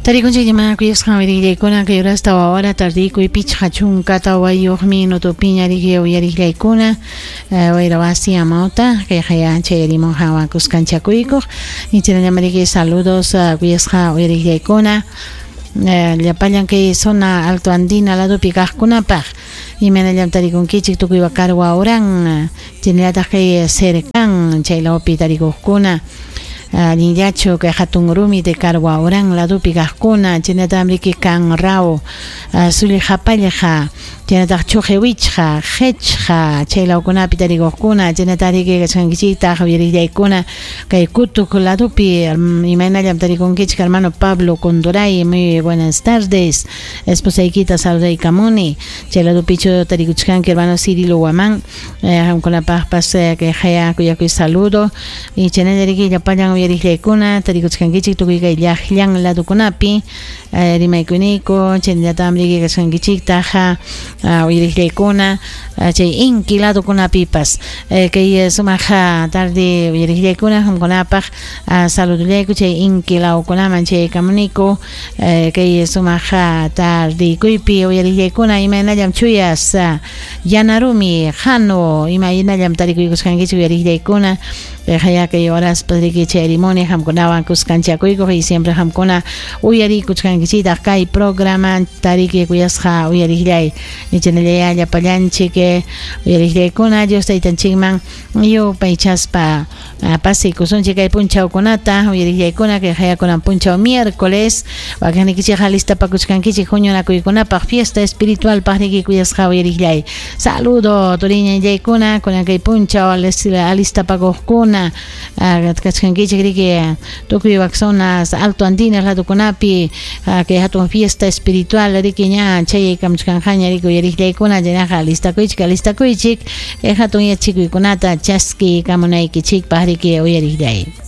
Tarikunchik ima kuyasqan uyariqllaykuna kay horas 4 hora tardikuy 54 minutopiña riki uyariqllaykuna wayra wasi amawta kay haya chayarimun hawan kuskanchakuykuq ichinallam riki saludos kuyasqa uyariqllaykuna llapallan kay zona alto andina ladopi kaqkunapaq imaynallam tarikunkichik tukuy Wakarwa uran chaynallataq kay cercan chay lawpi tarikuqkuna allinllachu kay hatun rumi de Carwa uran ladopi kaqkuna chaynataq riki Kanrao Sullqapallqa chaynataq Chuqiwichqa Qechqa chay lawkunapi tarikuqkuna chaynataq riki kachkankichiktaq uyariqllaykuna kay Kutuk ladopi imaynallam tarikunkichik hermano Pablo Conduray, muy buenas tardes, esposaykita saludaykamuni chay ladopichu tarikuchkanki hermano Cirilo Guamán, qamkunapaqpas kay haya kuyakuy saludo y chaynalla riki llapallan uyariqllaykuna tarikuchkankichik tukuy kay llaqllan ladokunapi rimaykuniyku chaynallataq riki kachkankichiktaq uyariqllaykuna chay inki ladokunapipas kay sumaq tarde uyariqllaykuna qamkunapaq saludullayku chay inki lawkunaman chaykamuniku kay sumaq tardekuypi uyariqllaykuna imaynallam chuyas yanarumi hano imaynallam tarikuykusqankichik uyariqllaykuna haya kay horaspas riki chayrimuni qamkunawan kuskanchakuykuq y siempre qamkuna uyarikuchkankichiktaq kay programa tariki kuyasqa uyariqllay ichanallaya llapallanchik uyariqllaykuna Dios taytanchikman yupaychaspa pasaykusunchik kay punchawkunata uyariqllaykuna kay hayakunan punchaw miércoles wakinnikichik alistapakuchkankichik huñunakuykunapaq fiesta espiritualpaq riki kuyasqa uyariqllay saludo turiñallaykuna kunan kay punchaw alistapakuqkuna kachkankichik riki tukuy wak zonas alto andinas ladokunapi kay hatun fiesta espiritual riki ña chayaykamuchkanqaña riki uyariqllaykuna chaynaqa alistakuychik alistakuychik hatun yachikuykunata chaskiykamunaykichikpaq riki uyariqllay.